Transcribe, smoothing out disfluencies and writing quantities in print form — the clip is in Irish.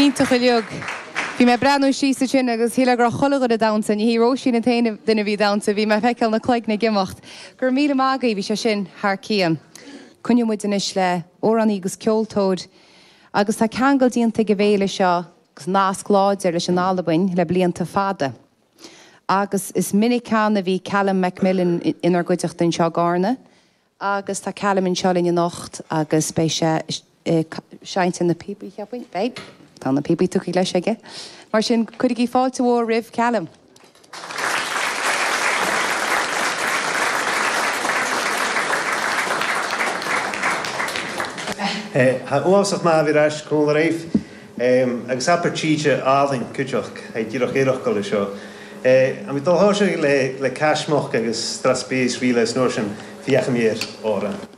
Iontach uilig. Bhí mé ag breathnú síos ansin agus shílfeá go raibh chuile dhuine ag damhsa. Ní hí Róisín an t-aon duine a bhí ag damhsa, bhí mé ag feiceáil na cloigne ag imeacht. Go raibh míle maith agaibh, bhí sé sin thar cionn. Coinneoidh muid anois le amhránaí agus ceoltóir agus tá ceangal déanta ag an bhféile seo agus nasc láidir leis an Albain le blianta fada. Agus is minic cheana a bhí Callum McMillan inár gcuideachta anseo i gCarna. Agus tá Callum anseo linn anocht agus beidh sé ag seinnt ar na píopaí, cheapfainn. Beidh. Tá na píopaí tugtha leis aige. Mar sin, cuirigí fáilte mhór roimh Callum. Tha uabhasach math a bhith air ais cumhal air agus abair tríde álainn cuideachd tha dìreach iarracht leis seo. An bhí dul thoisigh le le Caismeach agus Strathspey is Ríle is nuair sin féachaim air, Árann.